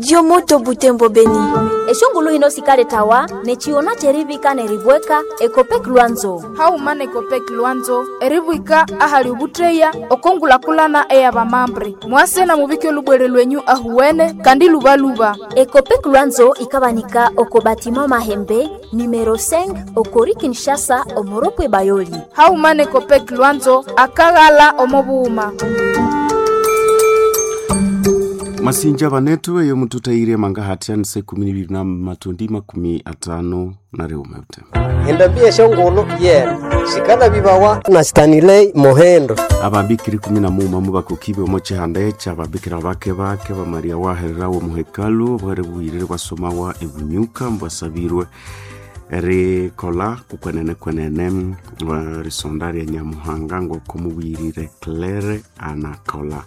Dio Moto Butembo Beni. Eshongulu hino sikaletawa nechiona cherivika neribweka Ekopek Lwanzo. Hauma nekopek Lwanzo eribwika ahali ubutreya okongulakulana eyabamambre mwase na mubike olubwere lwenyu ahuwene kandi lubaluba. Ekopek Lwanzo ikabanika oko batima Mahembe numero 5 okori Kinshasa omoropwe Bayoli. Hauma nekopek Lwanzo akaghala omobuuma. Masinja banetu eyo mututaire manga hatiani se 12 na matundi 51 ute. Endambi eshongolo yena sikala bibawa na Stanley Mohendo. Ababikiri 11 mubakukibe omo chihanda cha ababikira bake bake ba Maria waherera wo muhekalu bwere bwirire bwasomawa ebunyuka mbwasabirwe rikola kukwenene kwenene risonda rya Nyamuhanga ngoko mubwirire Claire anakola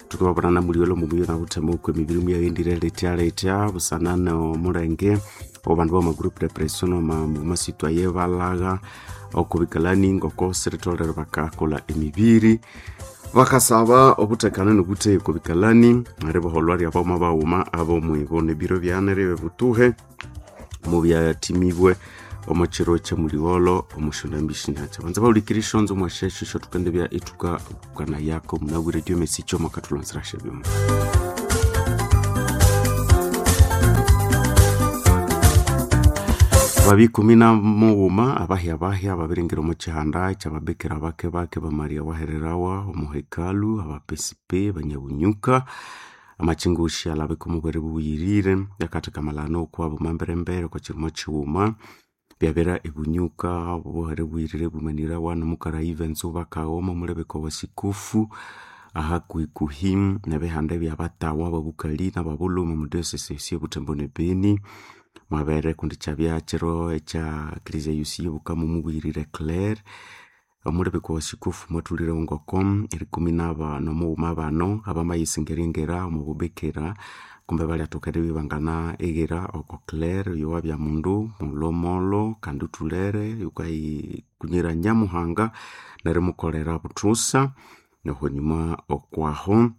tukababonana muliolo mumuyo na okwe mibiri muyayendire letya letya busana no mulenge obandu ba magroup depression masitwa ye balaga okubikalani ngoko siritolere bakakola emibiri bakasaba obutekano nobute okubikalani riboholwa ryaboma bauma abomwibo nebiro byane ribe butuhe mubyatimibwe omukiro kyamuliwolo omushondambishinyacha banza baulikira ishonzo mwashesho shotukende bya ituka kana yako munabwire dio mesi choma katulonsera shebyuma. Babi 11 abahya bahya babiringira omu kihanda kyababikira bake bake ba Maria wahererawa omuhekalu abapesipe banyabunyuka amachingushi alabeka omubwere bubuyirire yakatheka malano okwabo mamberembere kwa kirimo kiwuma byabera ebunyuka obuhere bwirire bumanira wano mukara events bakaoma mulebeka wa sikufu ahakuhikuhi nebihanda ebyabatawa babukali nababuluma mu diocese y'Obutembo ne Beni mwabere kundi kyabya kiro ekya eklezia yosi y'Obukama mubwirire Claire omulebeka wa sikufu mwatulire ngoko erikumi nomughuma bano abamayisingerengera omububikira kumbe balyathoka eribibangana eghera oko Claire oyo wabya mundu mulomolo kandi uthulere yukayikunyira Nyamuhanga nerimukolera buthusa nohonyuma okwaho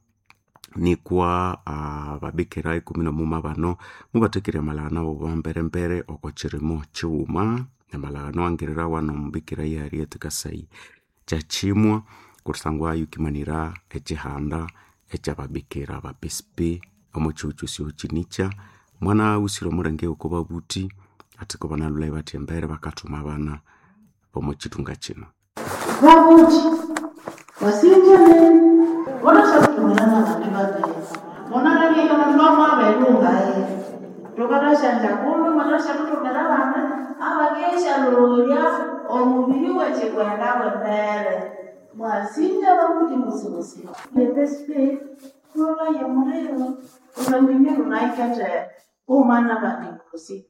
nikwa ababikira 11 bano mubathekirya amalagano abo bamberembere oko kirimo kighuma amalagano angirira wano omubikira Harriet Kasai kyakimwa kusangwa yukimanira ekihanda ekyababikira abapesipe omo kihugho kyosi kinikya mwana usire omulenge oko babuthi athiko banalhulhayo bathi embere bakathuma abana bomo kithunga kino. Babuthi wasinjene vonaxakutumelana vantu vaviri vonalavika vantu vamwavelungaye tokataxanja kumbe mwanaxakutumela vana avakexalolya omuviri wecikwenda wembele mwasinja vakuti musimusi lepespe lolaye mulilo ulanginye lunaikete umana vanikusi.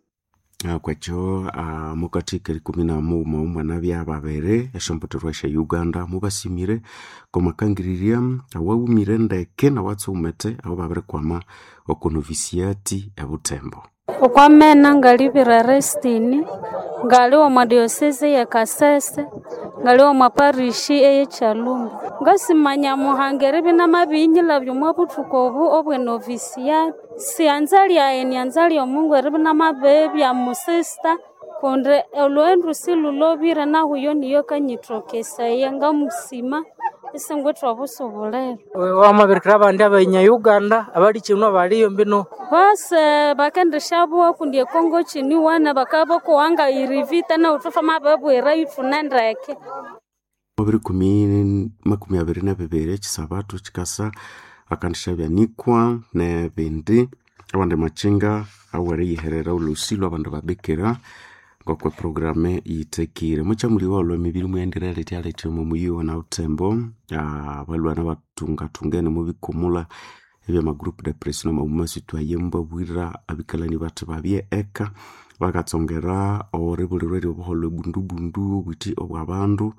Kwekyo mukathika 11 omwana byababere esyombotherwa sya Uganda mubasimire komakangirirya awaghumire ndeke nawatsumete abo babirikwama oko novisiati ebutembo. Okwamena ngalibira Restini ngali omwa diocese ye Kasese ngali omwa parishi eye Kyalumba ngasimanya Nyamuhanga eribya inamabiyinyilhabya omwa buthuku obu obwe novisiati sianza lyayi nyanza lyomungu eribya inamabibya musista kundi olhughendu silhulhobire nahuyo niyo kanyithokesaya ngamusima isingwithe obusubuliro. Wamabirikira abandi abanya Uganda abali kino baliyo mbino bose bakendishabuwa kundi ekongo kiniwana bakabakuwanga irivita nahu thwamababwira ithune ndeke. 2022 ekisabatu kikasa akandishabyanikwa nebindi abandi machinga aweriyiherera olhusi lwabandu babikira ngokwe programe yithekire mukyamuliwa olwo emibiri muyendire letya letya omo muyiwa na Butembo abalwana batungatungene mubikumula ebyama group depression omumasitwa yembabwira abikalani bathi babye eka bakatsongera oribulirwa eryobuholho ebundubundu obwithi obwabandu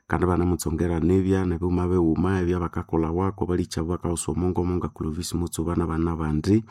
kandi banamutsongera nebya nebighuma bighuma ebyabakakolha wako balikyabu bakaghusa omongomo nga Clovis Mutsuba nabana bandi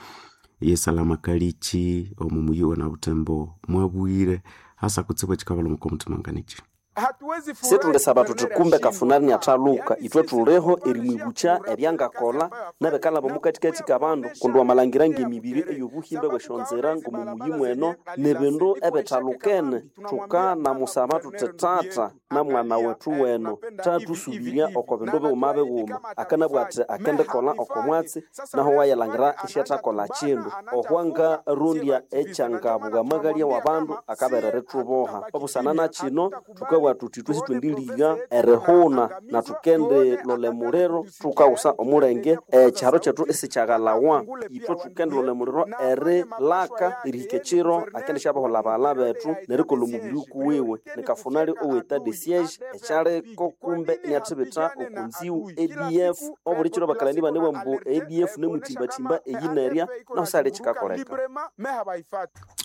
yesalama Kalichi omo muyi wa Butembo mwabwire hasa kutsibu ekikabalha omutima nganichi. Hatuwezi Situlisaba tuthi kumbe Kafunari niathaluka, ithwe thuliho erimwibukya ebyangakolha nebikalaba omukathikathi kabandu kundi wamalhangira ngemibiri eyobuhimba bw'esyonzira ng'omo muyi mweno nibindu ebithalukene. Thukanamusaba thuthi tata na mwana wethu weno thathusubirya oko bindu bighuma bighuma. Akanabugha athi akendikolha oko mwatsi naho wayilhangira isyathakolha kindu. Ohwangarondya ekyangabugha amaghalya w'abandu akaberera erithuboha. Obusana na kino thukabugha thuthi ithwe sithwendiliga erihuna na thukendilolha emuliro thukawusa omulenge ekyiharo kyethu isikyaghalhawa. Ithwe thukendilolha emuliro erilaka erihika ekiro akendisyabaholha abaghalha bethu nerikolha omubiri kuwiwe. Ni Kafunari owe etat de siege ekyaliko kumbe iniathibitha okunziwu ADF. Obuli kiro bakalani banebugha ambu ADF nemuthimbathimba eyi nerya nahu sihali ekikakoleka.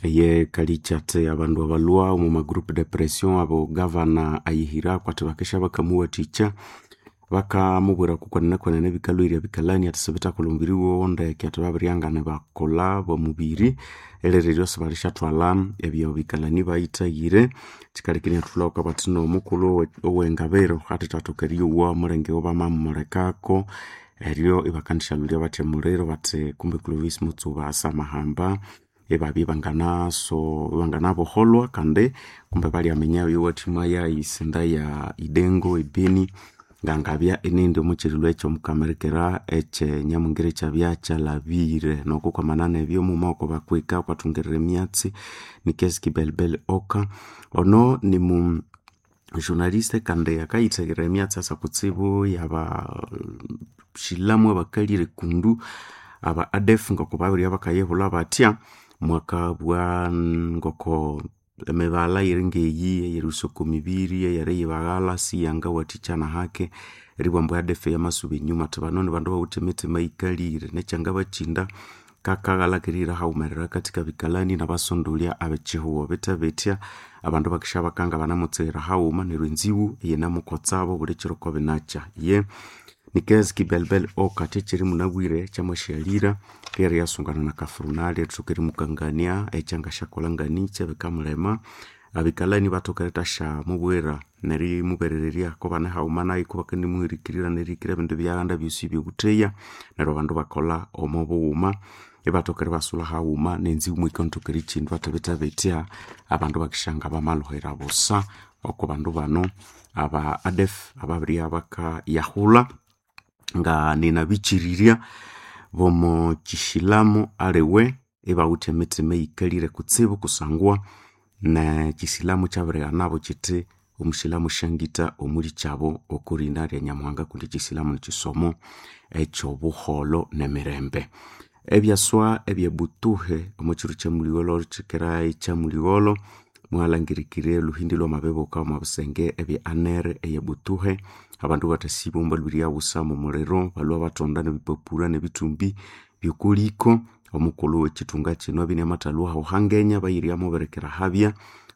Eye kalikyathe abandu abalwa omu magroup de pression abo gavana ayihira kwati bakesha bakamuwathikya bakamubwira kukwenene ebikalhwirya ebikalani athi sibithakolha omubiri wowo ndeke athi babiryangana bakolha bomubiri erereryo sibalisyathwalha ebyo bikalani bayithaghire. Kyikaleka inyathulhaku abathi nomukulhu owengabiro athithathoka eriyowa omulenge bamamulekako eryo ibakandishalhulya bathi emuliro bathi kumbe Clovis Mutsuba asamahamba ibabya ibanganaso ibanganaboholwa kandi kumbe balyaminya eyowathima yayisinda ya Idengo ebeni ngangabya inindi omukyilhulhu ekyomukamirikira ekyenyamungira ekyabya kyalhabire. Nokukwamanana nebyo muma oko bakwika okwathungirira emyatsi Nikes Kibelbel Oka ono nimu journaliste kandi akayithahira emyatsi asa kutsibu yabashilamu abakalire kundu aba ADF ngoko babirya bakayibulha bathya mwakabugha ngoko emibala eyiri ngeyi eyerighusya oko mibiri eyeriyibaghalha siyangawathikya nahake eribugha ambu ADF yamasuba enyuma athi bano nibandu abawithe emitima eyikalire nekyangabakyinda kakaghalha kerihira haghumerera akathi kabikalani nabasondolya abekyihugho. Bithe bithya abandu bakisya bakanga banamutsighira haghuma neryo enziwu iyinamukotsabo buli kiro kobinakya. Ye Nikes Kibelbel Oka kyekyiri munabwire kyamasyalira ryeriyasungana na Kafurunali erithoka erimukangania ekyangasyakolha nganichi ebikamulema. Abikalani bathoka erithasya nerimuberererya kobane haghuma nayu kubakandimuhirikirira nerihikira ebindu ebyaghanda byosi ebyobutheya neryo abandu bakolha omo bughuma ibathoka eribasulha haghuma nenziwu muyikanathoka erikyindwa athi bithe bithya abandu bakisyanga bamalhuhira busa oko bandu bano aba ADF ababirya bakayahulha nga ninabikyirirya bomo kyisilamu aliwe ibawithe emitima eyikalire kutsibu kusangwa nekyisilamu kyabirighanabo kyithi omusilamu syangitha omulikyabo okurina rya Nyamuhanga kundi ekyisilamu nikyisomo ekyobuholho nemirembe. Ebyaswa ebyebutuhe omukyiro kyamuligholho kyikira ekyamuligholho mwalhangirikire olhuhindi lwamabibuka omo bisenge ebye anere eyebutuhe abandu bathasibwa balhwirya wusa omuliro balhwa bathonda nebipapura nebithumbi byokoliko. Omukulhu wekyithunga kino abya iniamathalhwa hangenya bayirya mubirikira habya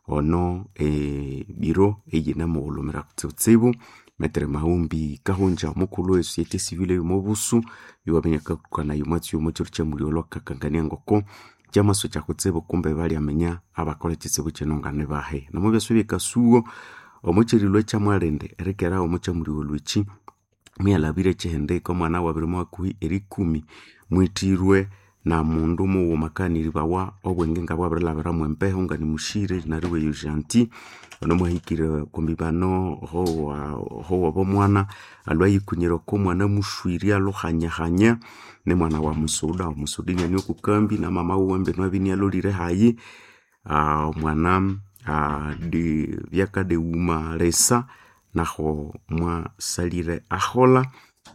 ono ebiro eyinamughulhumira kutsibutsibu. Metere Maghumbi Kahungya omukulhu we society civil eyomobusu iwaminya akakukanaya omwatsi omo kyiro kyamuligholho akakangania ngoko kyamaso kyakutsibu kumbe balyaminya abakolha ekyitsibu kino nganibahi. Nomubyasa ebyekasugho omukyirilwa ekyamwalindi erikera omo kyamuligholho ekyi muyalhabire ekyihindiko omwana wabiri hakuhi erikumi mwithirwe na mundu mughuma akaniribawa obwenge ngabwabirilhabiramu embeho nganimushire nariwe Gentil ono mwahikire okwamibano howa bomwana alhwa ayikunyira oko mwana mushwirye alhuhanyahanya nimwana wa musuda, omusuda iniane okukambi namama wuwe mbinu abya inialholire hayi. Omwana byakadighuma lisa nahu mwasalire aholha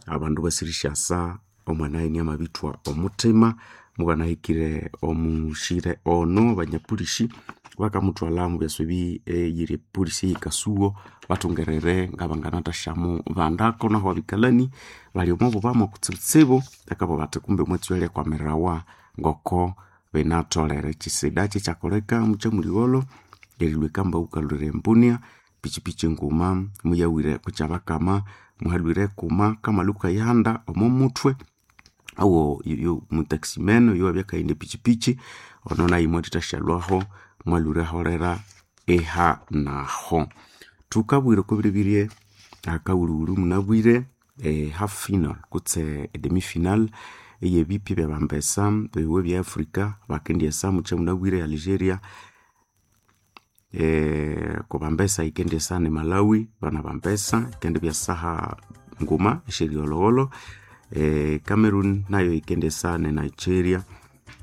abandu basirishyasa omwana iniamabithwa omuthima mubanahikire omushire ono abanyapolisi bakamuthwalha omubyasa ebi eyiri epolisi eyekasugho bathungerere ngabanganathasyamu bandako nahu abikalani bali omo bubamu kutsibutsibu bakabugha bathi kumbe omwatsi oyo alyakwamirirawa ngoko binatholere. Ekyisida kyekyakoleka mukyamuligholho erilhwa ekamba ghukalhwira embunia pichipichi enguma muyawire kukyabakama muhalhwire ekuma kamalhu kayihanda omo muthwe owo yo mutaximeno oyo wabya akaghenda epichipichi ono nayu mwathethasyalhwaho mwalhwire aholera eha naho. Tukabwire okobiribirye akawuruwuru munabwire half final kutse demi final eyebipya byabambesa biwe bya Africa bakendyesa mukya munabwire Algeria kubambesa ikendyesa ne Malawi bana bambesa ikendi byasaha nguma esyeryolhowolho Cameroon nayo ikendyesa ne Nigeria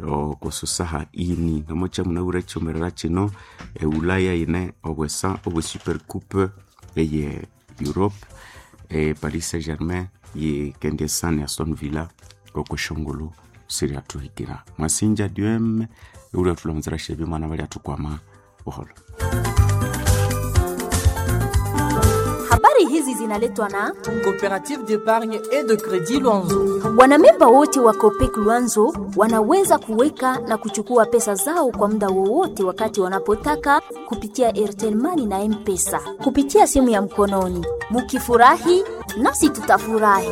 okususaha ini nomukya munabwire ekyomerera kino Ulaya yine obwesa obwe super coupe eye Europe Paris Saint-Germain yikendyesa ne Aston Villa okweshongolo siryathuhikira. Mwasinja Diem ulyathulamuzira syebyo mwana balyathukwama buholo. Habari hizi zinaletwa na Coopérative d'épargne et de crédit Luanzo. Wanamemba wote wa Copec Luanzo wanaweza kuweka na kuchukua pesa zao kwa muda wowote wakati wanapotaka kupitia Airtel Money na M-Pesa kupitia simu ya mkononi. Mukifurahi nasi tutafurahi.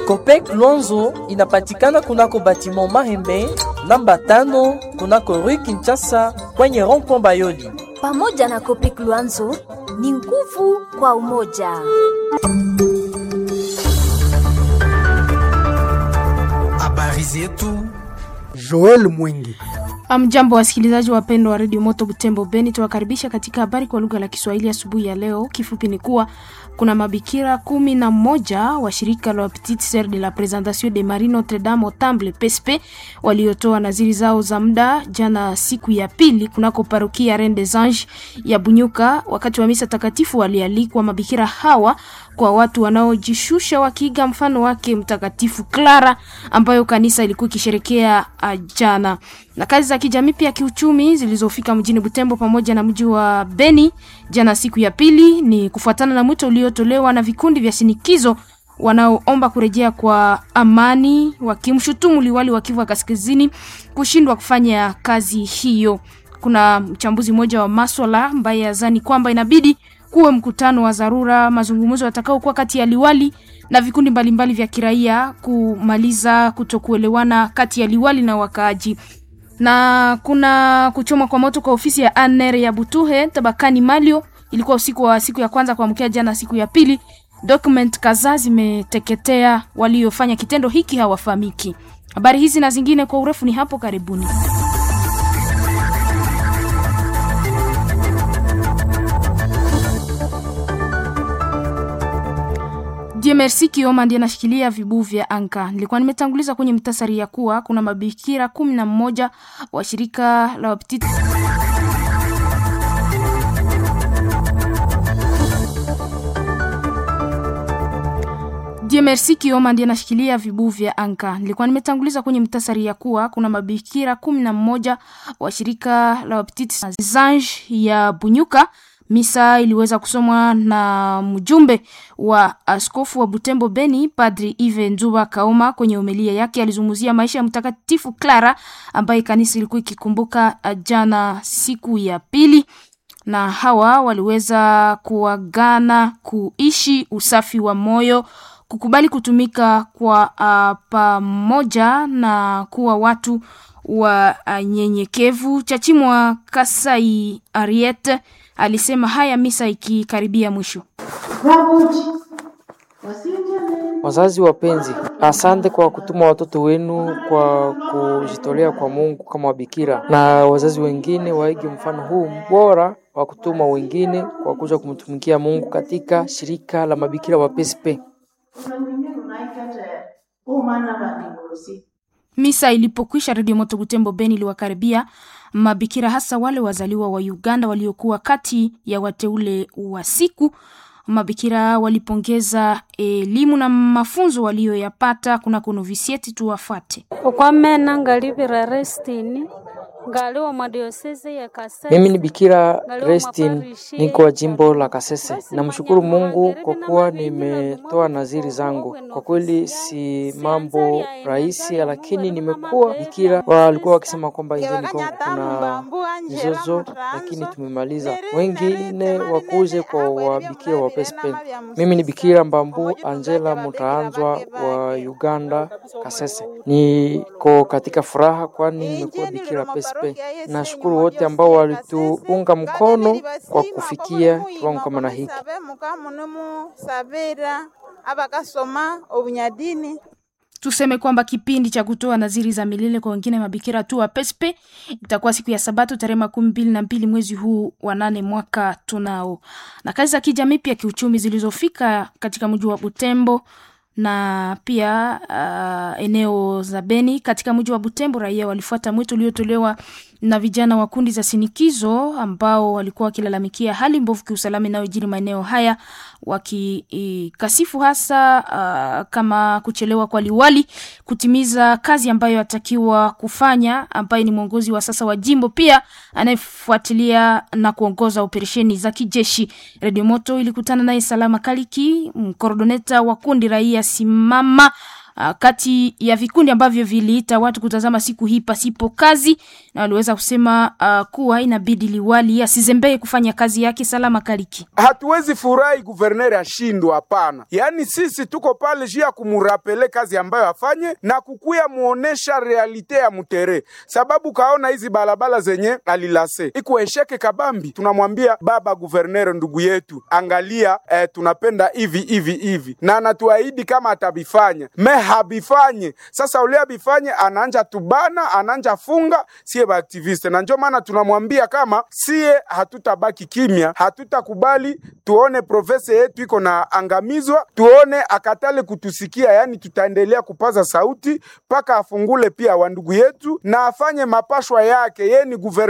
Copec Luanzo inapatikana kunako batiment Mahembe namba 5 kunako Rue Kinshasa kwenye rond-point Bayoli. Pamoja na Copec Luanzo ni nguvu kwa umoja. Habari zetu Joel Mwingi. Amjambo, wasikilizaji wapendwa wa redio Moto Butembo Beni, tuwakaribisha katika habari kwa lugha la Kiswahili asubuhi ya leo. Kifupi ni kuwa kuna mabikira 11 wa shirika la Petite Sœur de la Présentation de Marie Notre Dame au Temple PSP waliotoa naziri zao za muda jana siku ya pili kunako parokia Reine des Anges ya Bunyuka. Wakati wa misa takatifu walialikwa mabikira hawa kwa watu wanaojishusha wakiiga mfano wake Mtakatifu Clara ambayo kanisa ilikuwa ikisherekea jana. Na kazi za kijamii pia kiuchumi zilizofika mjini Butembo pamoja na mji wa Beni jana siku ya pili ni kufuatana na mwito uliotolewa na vikundi vya shinikizo wanaoomba kurejea kwa amani, wakimshutumu liwali wa Kivu ya Kaskazini kushindwa kufanya kazi hiyo. Kuna mchambuzi mmoja wa maswala ambaye azani kwamba inabidi kuwe mkutano wa dharura, mazungumzo yatakayokuwa kati ya liwali na vikundi mbalimbali vya kiraia kumaliza kutokuelewana kati ya liwali na wakaaji. Na kuna kuchoma kwa moto kwa ofisi ya ANR ya Butuhe tabakani Malio, ilikuwa usiku wa siku ya kwanza kuamkia jana siku ya pili. Document kadhaa zimeteketea, waliofanya kitendo hiki hawafahamiki. Habari hizi na zingine kwa urefu ni hapo karibuni. Merci Kioma ndiye anashikilia vibu vya anka. Nilikuwa nimetanguliza kwenye mtasari ya kuwa kuna mabikira 11 wa shirika la Petite Merci Kioma ndiye anashikilia vibu vya anka. Nilikuwa nimetanguliza kwenye mtasari ya kuwa kuna mabikira 11 wa shirika la Petite Ange ya Bunyuka. Misa iliweza kusomwa na mjumbe wa askofu wa Butembo Beni, Padri Ive Nzuba Kaoma. Kwenye homilia yake alizungumzia maisha ya Mtakatifu Clara ambaye kanisa ilikuwa ikikumbuka jana siku ya pili, na hawa waliweza kuagana kuishi usafi wa moyo, kukubali kutumika kwa pamoja na kuwa watu wa nyenyekevu. Chachimwa Kasai Ariete alisema haya misa ikikaribia mwisho. Wazazi wapenzi, asante kwa kutuma watoto wenu kwa kujitolea kwa Mungu kama wabikira, na wazazi wengine waige mfano huu bora wa kutuma wengine kwa kuja kumtumikia Mungu katika shirika la mabikira wa PSP. Misa ilipokwisha, Redio Moto Butembo Beni iliwakaribia mabikira hasa wale wazaliwa wa Uganda waliokuwa kati ya wateule wa siku. Mabikira walipongeza elimu na mafunzo walioyapata kunako novisieti. Tuwafate. Okwamena ngalivira Restini ngaliwa mwa diosese ya Kasese. Mimi ni Bikira Restin, niko wa jimbo la Kasese. Namshukuru Mungu kwa kuwa nimetoa naziri zangu. Kwa kweli si mambo rahisi, lakini nimekuwa bikira. Walikuwa wakisema kwamba nchini Kongo kuna mizozo, lakini tumemaliza. Wengine wakuje kwa wabikira wa PSP. Mimi ni Bikira Mbambu Angela Mutaanzwa wa Uganda, Kasese. Niko katika furaha kwani nimekuwa bikira PSP. Pespe. Nashukuru wote ambao walituunga mkono kwa kufikia kiwango kama na hiki. Tuseme kwamba kipindi cha kutoa nadhiri za milele kwa wengine mabikira tu wa Pespe itakuwa siku ya Sabato tarehe 22 mwezi huu wa 8 mwaka tunao. Na kazi za kijamii pia kiuchumi zilizofika katika mji wa Butembo na pia eneo za Beni. Katika mji wa Butembo, raia walifuata mwito uliotolewa na vijana wa kundi za sinikizo ambao walikuwa wakilalamikia hali mbovu kiusalama inayojiri maeneo haya, wakikasifu hasa kama kuchelewa kwa liwali kutimiza kazi ambayo atakiwa kufanya, ambaye ni mwongozi wa sasa wa jimbo pia anayefuatilia na kuongoza operesheni za kijeshi. Radio Moto ilikutana naye Salama Kaliki, mkoordoneta wa kundi raia simama kati ya vikundi ambavyo viliita watu kutazama siku hii pasipo kazi, na waliweza kusema kuwa inabidi liwali asizembee kufanya kazi yake. Salama Kaliki: hatuwezi furahi guverneri ashindwa, hapana. Yaani sisi tuko pale juu ya kumurapele kazi ambayo afanye na kukuya muonesha realite ya mutere, sababu kaona hizi balabala zenye alilase ikuesheke kabambi. Tunamwambia baba guverneri, ndugu yetu, angalia tunapenda hivi hivi hivi, na anatuahidi kama atabifanya me habifanye. Sasa ule habifanye anaanja tubana, anaanja funga sie ba activiste, na ndio maana tunamwambia kama sie hatutabaki kimya, hatutakubali tuone profesa yetu iko na angamizwa, tuone akatale kutusikia. Yani tutaendelea kupaza sauti mpaka afungule pia wandugu yetu na afanye mapashwa yake. Ye ni guverner.